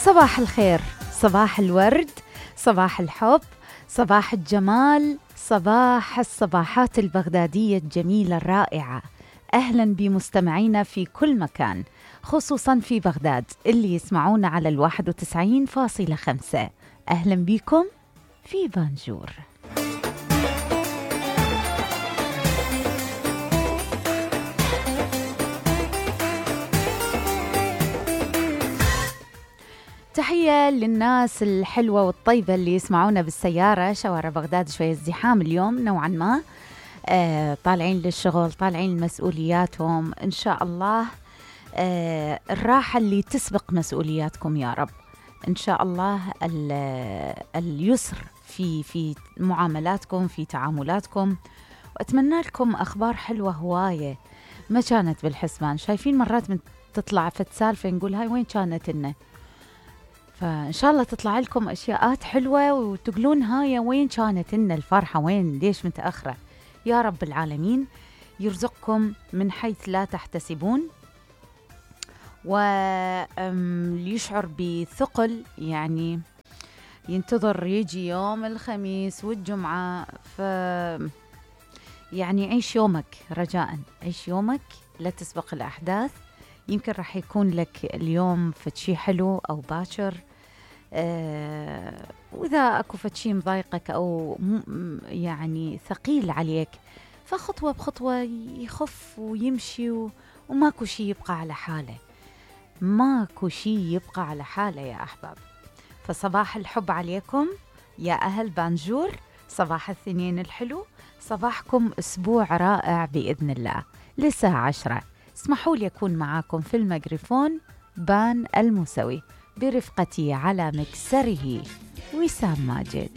صباح الخير، صباح الورد، صباح الحب، صباح الجمال، صباح الصباحات البغدادية الجميلة الرائعة. أهلا بمستمعينا في كل مكان، خصوصا في بغداد اللي يسمعونا على 91.5. أهلا بكم في بانجور. تحية للناس الحلوة والطيبة اللي يسمعونا بالسيارة. شوارع بغداد شوية ازدحام اليوم نوعا ما، طالعين للشغل، طالعين لمسؤولياتهم. إن شاء الله الراحة اللي تسبق مسؤولياتكم يا رب. إن شاء الله اليسر في معاملاتكم، في تعاملاتكم، وأتمنى لكم أخبار حلوة هواية ما كانت بالحسبان. شايفين مرات من تطلع فتسالفة نقول هاي وين كانت لنا، فإن شاء الله تطلع لكم أشياءات حلوة وتقولون هاي وين كانت لنا الفرحة، وين ليش متأخرة. يا رب العالمين يرزقكم من حيث لا تحتسبون، ويشعر بثقل، يعني ينتظر يجي يوم الخميس والجمعة. يعني عيش يومك رجاء، عيش يومك لا تسبق الأحداث. يمكن راح يكون لك اليوم فتشي حلو أو باكر، وإذا أكو فتشي مضايقك أو يعني ثقيل عليك، فخطوة بخطوة يخف ويمشي، وماكو شي يبقى على حاله، ماكو شي يبقى على حاله يا أحباب. فصباح الحب عليكم يا أهل بانجور، صباح الاثنين الحلو، صباحكم أسبوع رائع بإذن الله. للساعة 10 اسمحوا لي أكون معاكم في الميكروفون بان الموسوي، برفقتي على مكسره وسام ماجد.